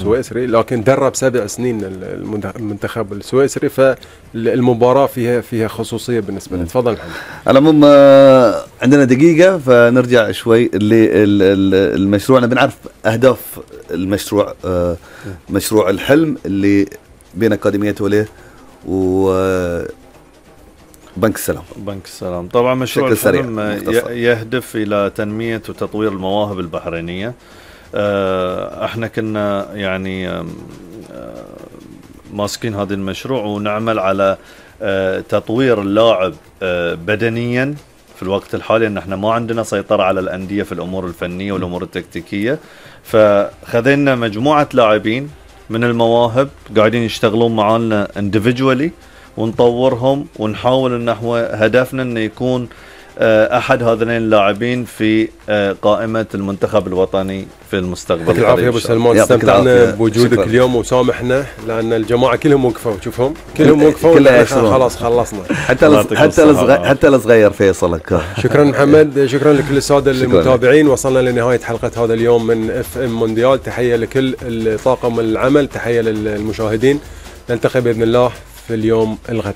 السويسري، لكن درب 7 سنين المنتخب السويسري، فالمباراة فيها خصوصية بالنسبة لي. تفضل محمد. على العموم عندنا دقيقة فنرجع شوي المشروع. أنا بنعرف أهداف المشروع، مشروع الحلم اللي بين أكاديمية وليه وبنك السلام. بنك السلام طبعا مشروع الحلم يهدف إلى تنمية وتطوير المواهب البحرينية. احنا كنا يعني ماسكين هذا المشروع ونعمل على تطوير اللاعب بدنيا في الوقت الحالي، ان احنا ما عندنا سيطرة على الأندية في الأمور الفنية والأمور التكتيكية. فخذينا مجموعة لاعبين من المواهب قاعدين يشتغلون معنا individually ونطورهم ونحاول ان هدفنا انه يكون احد هذين اللاعبين في قائمة المنتخب الوطني في المستقبل. يعطيك العافية ابو سلمان، استمتعنا بوجودك اليوم وسامحنا لان الجماعة كلهم وقفوا، شوفهم كلهم وقفوا، خلاص خلصنا. حتى الصغير فيصل. شكرا محمد، شكرا لكل السادة المتابعين. وصلنا لنهاية حلقة هذا اليوم من اف ام مونديال. تحية لكل طاقم العمل، تحية للمشاهدين. نلتقي بإذن الله في اليوم الغد.